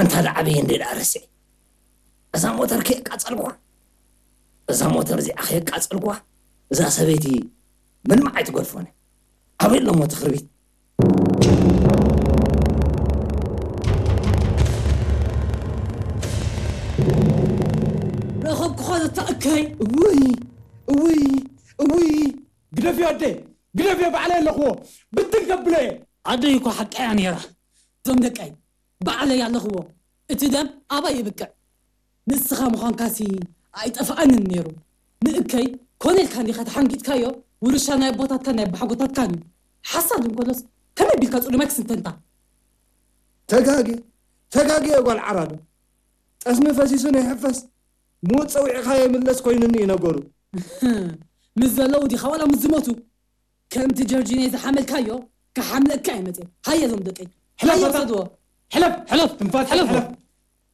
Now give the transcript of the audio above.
እንታ ደዓበየ እንደ ደኣ ረስዐ። እዛ ሞተር ከየቃጸልኳ፣ እዛ ሞተር እዚኣ ከየቃጸልኳ፣ እዛ ሰበይቲ ምንም ኣይትገድፎን እያ። ኣበይ ኣሎ እሞ እቲ ክርቢት? ረኸብኩኻ ዘታ እከይ። እውይ፣ እውይ፣ እውይ። ግደፍዮ ኣደ፣ ግደፍዮ፣ ባዕለይ ኣለኽዎ። ብትን ከብሎ እየ። ኣደይ እኮ ሓቃ እያ ነይራ። እዞም ደቀይ፣ ባዕለይ ኣለኽዎ። እቲ ደም ኣባይ ይብቅዕ። ንስኻ ምዃንካሲ ኣይጠፍኣንን ነይሩ። ንእከይ ኮነ ኢልካ እንዲኻ ተሓንጊጥካዮ፣ ውርሻ ናይ ኣቦታትካን ናይ ኣቦሓጎታትካን እዩ። ሓሳድ እንከሎስ ከመይ ቢልካ ጽሉማይ ክስንተንታ? ተጋግየ፣ ተጋግየ ጓል ዓራዶ። ጠስሚ ፈሲሱ ንይሕፈስ፣ ምዉት ጸዊዕኻ የምለስ ኮይኑኒ እዩ ነገሩ። ምስ ዘለዉ ዲኻ ዋላ ምስ ዝሞቱ? ከምቲ ጀርጂኖ ዝሓመልካዮ ክሓምለካ እየ መጽየ። ሃየ እዞም ደቀይ። ሕለፍ ሃየ በታ። ውሰድዎ። ሕለፍ፣ ሕለፍ፣ ትንፋስ ሕለፍ። ሕለፍ።